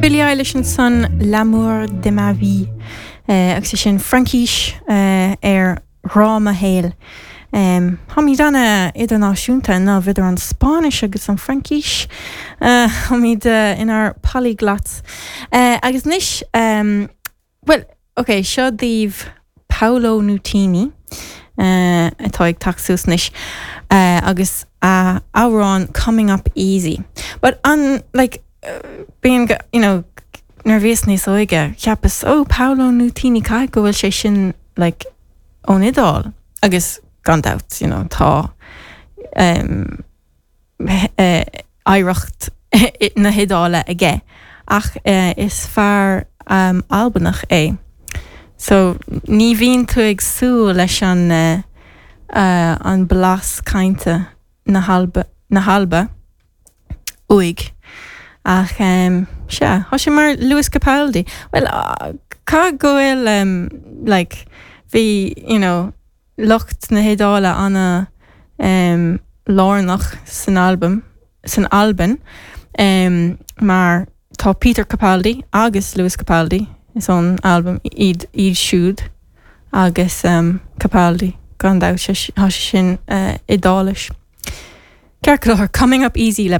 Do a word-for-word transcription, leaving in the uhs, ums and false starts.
Billie Eilish ansan L'amour de ma vie uh, agus é sin Fraincis uh, ar ghrá mo shaoil. Um, Táimid an-idirnáisiúnta ná idir an Spáinnis agus an Fraincis uh, Táimid uh, inár polyglots. Uh, agus anois um, well, okay, seo daoibh Paolo Nutini uh, atá ag teacht suas anois uh, agus uh, amhrán coming up easy. But an like uh, being you know nuair bhíos níos óige cheapas ó Paolo Nutini caithfidh go bhfuil sé sin like ón Iodáil agus gan dabht you know tá um, uh, oidhreacht na hIodáile aige ach uh, is fear um, Albanach é. So ní bhíonn tú ag súil leis an uh, uh, an blas cainte na hAlba na hAlba uaidh. Ach um, sea Tá sé mar Lewis Capaldi. Well uh, caithfidh go bhfuil um, like, bhí you know, lucht na hIodáile ana um, lárnach san album san Albain um, mar tá Peter Capaldi agus Lewis Capaldi is ón Albain iad iad siúd agus um, Capaldi gan dabht tá sin uh, Iodáilis. Ceart go leor coming up easy le